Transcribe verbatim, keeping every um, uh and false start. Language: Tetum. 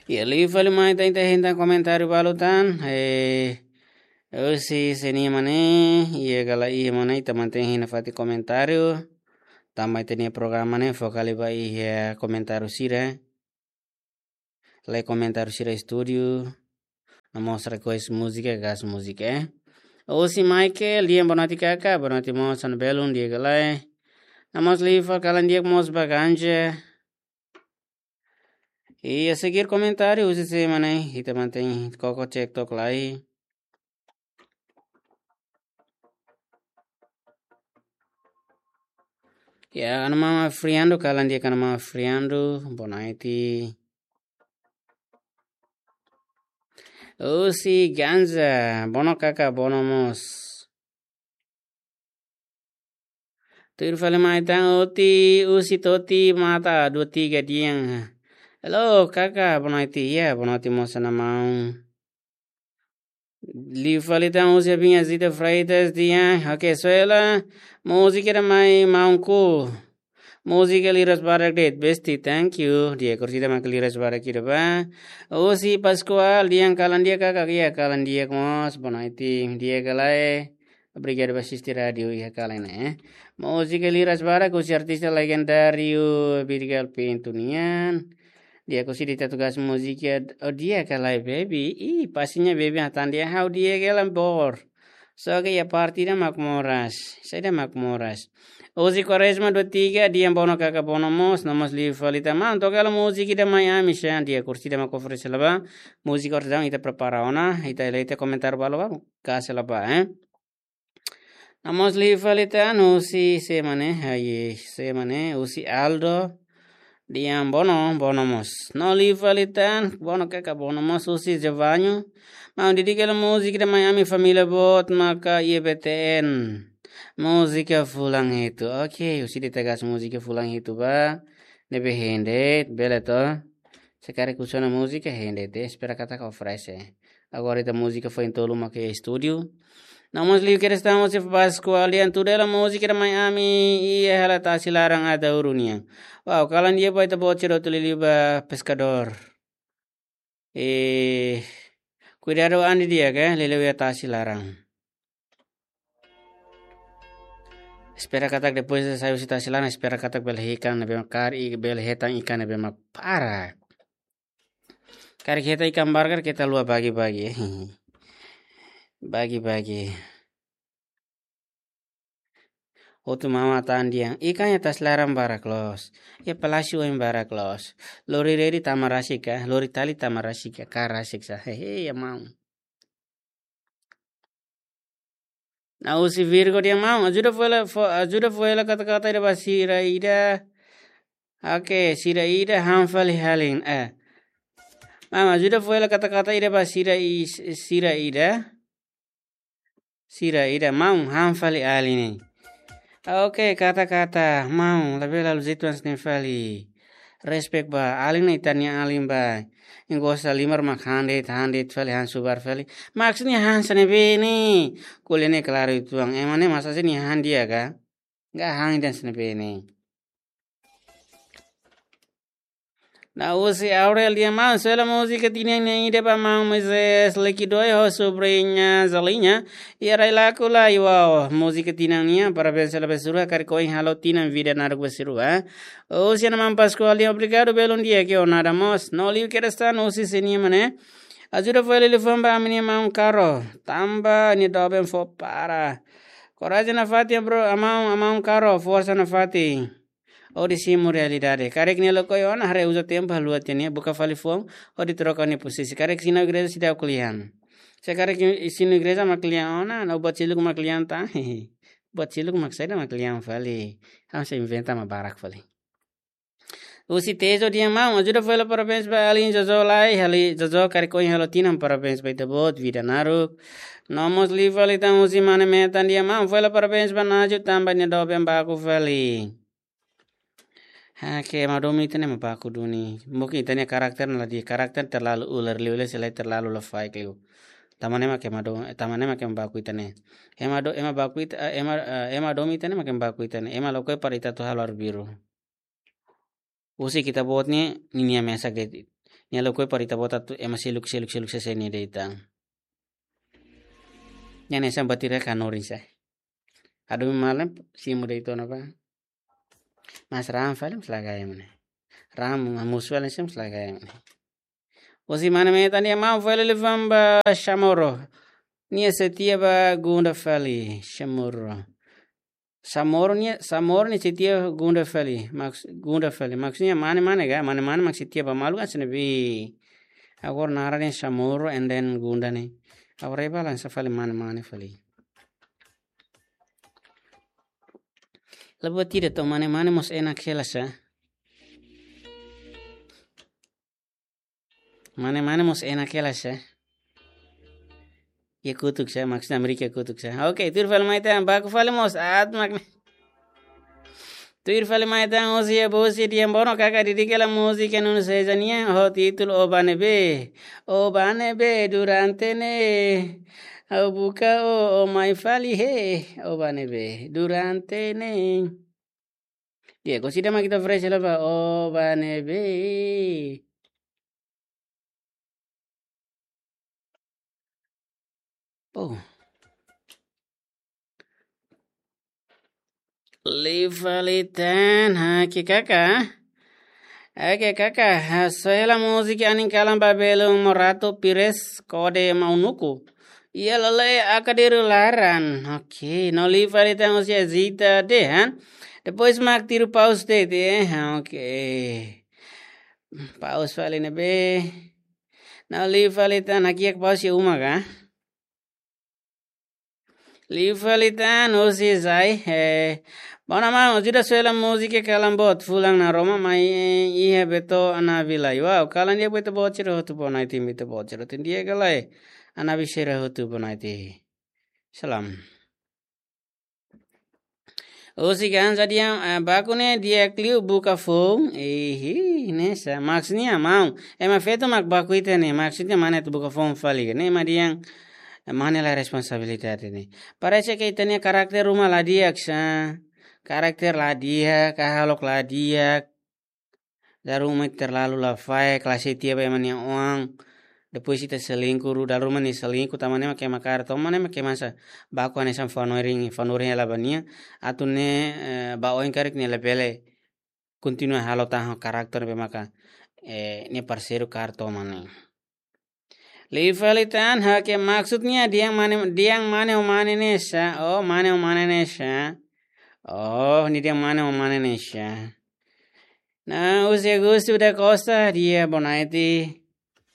Ya, liu fali mai ita hetan komentáriu balu tan. Eh, husi Senia Mane, iha kala iha mane ita mantein hina fatin komentáriu. Tanba ita-nia programa ne'e foka liu ba iha komentáriu sira. Lai komentáriu sira estúdiu. No mós request múzika, gás múzika, eh. Husi Michael, di'ak, boa noite kaka, boa noite mós, hanesan belun, di'ak ka lae. No mós liu fali kalan di'ak mós ba Ganja. I a seguir komentáriu husi sé mane, ita mantein koko cek tok lai. Ya, hanesan maun Afriando, kalan di'ak hanesan maun Afriando, boa noite. Husi Ganja, bono kaka, bono mós. Tuir fali mai tan Oti, husi Toti Mata, dua tiga di'ak. Halo, kaka, boa noite, ya, boa noite mós hanesan maun. Liu fali tan husi Abinha Zita Freitas, di'ak. Oke, Suela, múzika ida mai maunku. Múzika liras barak de'it, besti, thank you. Di'ak, kurtida mak liras barak ida ba. Husi Pascoal, di'ak, kalan di'ak kaka, ya, kalan di'ak mós, boa noite, di'ak ka lae. Obrigadu ba asiste rádiu iha kalan ne'e, eh. Múzika liras barak husi artista legendáriu Abigail Pinto nian. Di'ak, husi ita tugas múzika, oh, di'ak ka lae, baby. Ih, pastinya baby hatán di'ak, ha'u di'ak ka lae, bor. Só ke iha parte ida mak moras. Saida mak moras. Husi Quaresma dua tiga, di'ak, bono kaka, bono mós, no mós liu fali tan maun, toka hela múzika ida mai ami, sá, di'ak, kurtida mak oferese la ba. Múzika orsida ita prepara ona, ita, ita komentáriu balu ba, kasi la ba, eh. No mós liu fali tan husi sé mane, ai, sé mane, husi Aldo. Di'ak, bono, bono mós. No liu fali tan, bono kaka, bono mós husi Jevanho. Maun, dedika hela múzika ida mai ami família boot maka iha B T N. Múzika fulan hitu. Oke, husi ita tugas múzika fulan hitu ba. Ne'ebé hein de'it, bele to. Se karik husu ona múzika hein de'it, espera katak oferese. Agora ita múzika foin tolu mak iha estúdiu. No mós liu kedas tan husi Pascoal, di'ak, tuda hela múzika ida mai ami iha hela tasi laran Ataúru nian. Wow, kalan di'ak ba ita-boot sira hotu, liuliu ba peskadór. Eh, kuidadu an didi'ak, liuliu iha tasi laran. Espera katak depois de sai husi tasi laran, espera katak bele ikan ne'ebé mak karik, bele hetan ikan ne'ebé mak barak. Karik hetan ikan barak, karik keta haluha bagi-bagi. Bagi-bagi. Hotu mama tan di'ak. Ikan iha tasi laran barak loos. Iha palásiu oin barak loos. Lori redi tama rasik ka, lori tali tama rasik ka, ka rasik sá. Hehe, ya maun. No husi Virgo, di'ak maun, ajuda fó hela, fó, ajuda fó hela kata-kata ida ba sira ida. Oke, sira ida han fali alin, eh. Maun, ajuda fó hela kata-kata ida ba sira i-, sira ida. Sira ida, maun, han fali alin ne'e. Oke, kata-kata, maun, labele halo jeitu hanesan ne'e fali. Respect ba, alin ne'e ita-nia alin ba. Nia gosta liman mak han de'it, han de'it fali, han subar fali. Maksudnya han hanesan ne'ebé ne'e? Ko'alia ne'e klaru uitoan. Ema ne'e masa se nia han di'ak ka? Enggak, han ida hanesan ne'ebé ne'e. No husi Aurel, di'ak maun, sela múzika tinan nian ida ba maun Moisés Likidoy ho sobriña Zaliña. Iha rai laku lai, wow, múzika tinan nian, parabéns sela ba sira, karik ohin halo tinan vida naruk ba sira. Husi hanesan maun Pascoal, di'ak, obrigadu, belun di'ak, ke o nada mós. No liu kedas tan husi Senia Mane. Ajuda fó hela liafuan ba ami-nia maun Karo. Tanba nia doben fó para. Korajen nafatin, bro, maun, maun Karo, forsa nafatin. Hodi simu realidade. Karik nia lakohi ona, haree uza tempu haluha tiha nia, buka fali foun, hodi troka nia posisi. Karik sinu igreja seidauk kle'an. Se karik sinu igreja mak kle'an ona, no buat seluk mak kle'an tan. Buat seluk mak saida mak kle'an fali. Ha'u sei inventa mak barak fali. Husi Tejo, di'ak maun, ajuda fó hela parabéns ba alin Jojo lai, alin Jojo karik ohin halo tinan, parabéns ba ita-boot, vida naruk. No mós liu fali tan husi mane Metan, di'ak maun, fó hela parabéns ba Naju tanba nia doben baku fali. Ha, ke ema domin ita ne'e mak baku duni. Mungkin ita-nia karakter ne'e la di'ak, karakter terlalu ular liu, liu selae terlalu lafaek liu. Tanba ne'e mak ema do-, tanba ne'e mak ema baku ita ne'e. Ema do-, ema baku ita, eh, ema, eh, ema domin ita ne'e mak ema baku ita ne'e. Ema lakohi para ita atu halo arbiru. Husik ita-boot ne'e, ninia mesak de'it. Nia lakohi para ita-boot atu ema seluk, seluk, seluk sese nia de'it tan. Nia hanesan bateria hanorin sa. Adu malam simu de'it ona ba. Mas ram fali mós la gaya mane. Ram mus fali mós la gaya mane. Husi mane metan nia maun fali liu fali ba Chamorro. Nia setia ba Gunda fali, Chamorro. Chamorro nia, Chamorro nia setia Gunda fali, maks-, Gunda fali. Maksudnya mane-mane ka, mane-mane mak setia ba malu kan sene bi. Agora naran nia Chamorro and then Gunda ne'e. Agora iha balansa fali mane-mane fali. Labo tidak to mane-mane mós enak hela sa. Mane-mane mós enak hela sa. Iha kotuk sa, maksudnya Amérika kotuk sa. Oke, tuir fali mai tan, baku fali mós, at mak. Tuir fali mai tan, husi iha Bosi dehan bono kaka didik hela múzika Nuno César nian, ho títulu O Ba Ne'ebé. O ba ne'ebé durante ne'e. Ha'u buka o, o mai fali he. O ba ne'ebé durante ne'e. Di'ak, orsida mak ita fresh hela ba O Ba Ne'ebé. Oh. Liu fali tan, oke kaka. Oke kaka, hasoru hela múzika anin kalan ba belun Morato Pires kode Maunuku. Iha lale'e Akadiru laran. Oke, no liu fali tan husi Zita dehan. Depois mak tiru paus de'it, eh. Oke. Paus fali ne'ebé. No liu fali tan, hakiak paus iha uma ka. Liu fali tan husi Zai, eh. Bono maun, ajuda soe hela múzika kalan boot, fulan Naroman mai, eh, iha Beto Anabi lai. Wow, kalan di'ak ba ita-boot sira hotu, boa noite ba ita-boot sira hotu. Di'ak ka lae, Anabi sira hotu, boa noite. Salam. Husi Gaanza dehan, eh, baku ne'e di'ak liu buka foun. Ihi, ne'e sa. Maksudnya maun. Ema feto mak baku ita ne'e. Maksudnya mane atu buka foun fali ka. Ne'e mak dehan, eh, mane la responsabilidade ne'e. Parese ke ita-nia karakter ruma la di'ak sa. Karakter la di'ak, hahalok la di'ak. Dala ruma terlalu lafaek, la setia ba ema nia oan. Depois ita selingkuh, dala ruma nia selingkuh, tanba ne'e mak ema kaer toman, ne'e mak ema sa baku hanesan fanorin, fanorin hela ba nia. Atu ne'e, eh, ba oin karik nia labele kontinua halo tan ho karakter ne'ebé maka, eh, nia parseiru kaer toman ne'e. Liu fali tan, oke, maksudnya dehan mane, dehan mane ho mane ne'e sa. Oh, mane ho mane ne'e sa. Oh, nia dehan mane ho mane ne'e sa. Nah, husi Augusto da Costa, di'ak boa noite.